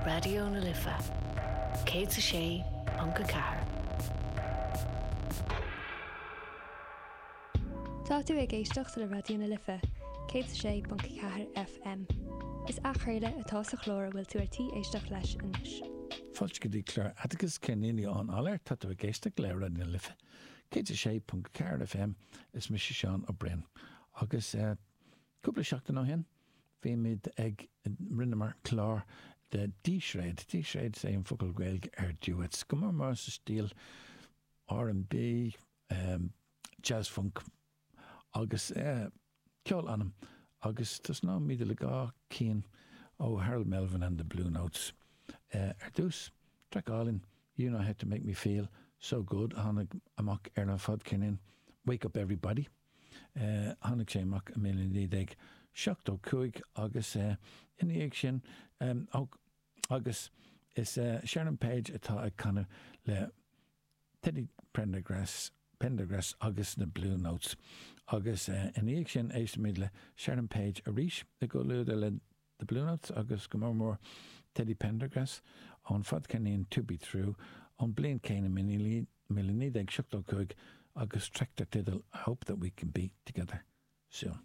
Raidió na Life 106.4. Tá tú ag éisteacht le Raidió na Life 106.4 FM. Is athchraoladh atá sa chlár a bhfuil tú ar tí éisteacht leis anois. Fáilte go dtí clár Oideachais Ceirníní ón Áiléar. Tá tú ag éisteacht le Raidió na Life 106.4 FM. Is mise Seán Ó Broin. Agus cúpla seachtain ó shin, bhí muid ag, rinneamar clár de dísréad, dísréad is é an focal Gaeilge ar duets, go mór mór sa stíl R&B, jazz funk agus ceol anam agus tosnóimid le dhá cinn ó Harold Melvin and the Blue Notes. Ar dtús, traic álainn You Know How to Make Me Feel So Good a tháinig amach ar an fadcheirnín Wake Up Everybody. Tháinig sé amach i 1975 agus ina dhiaidh sin, agus is Sharon Page atá ag canadh le Teddy Pendergrass, Pendergrass agus na Blue Notes. Agus ina dhiaidh sin éistfimid le Sharon Page arís i gcomhluadar le The Blue Notes agus go mór mór Teddy Pendergrass ón fadcheirnín To Be True ón bliain céanna 1975 agus traic dar teideal I Hope That We Can Be Together Soon.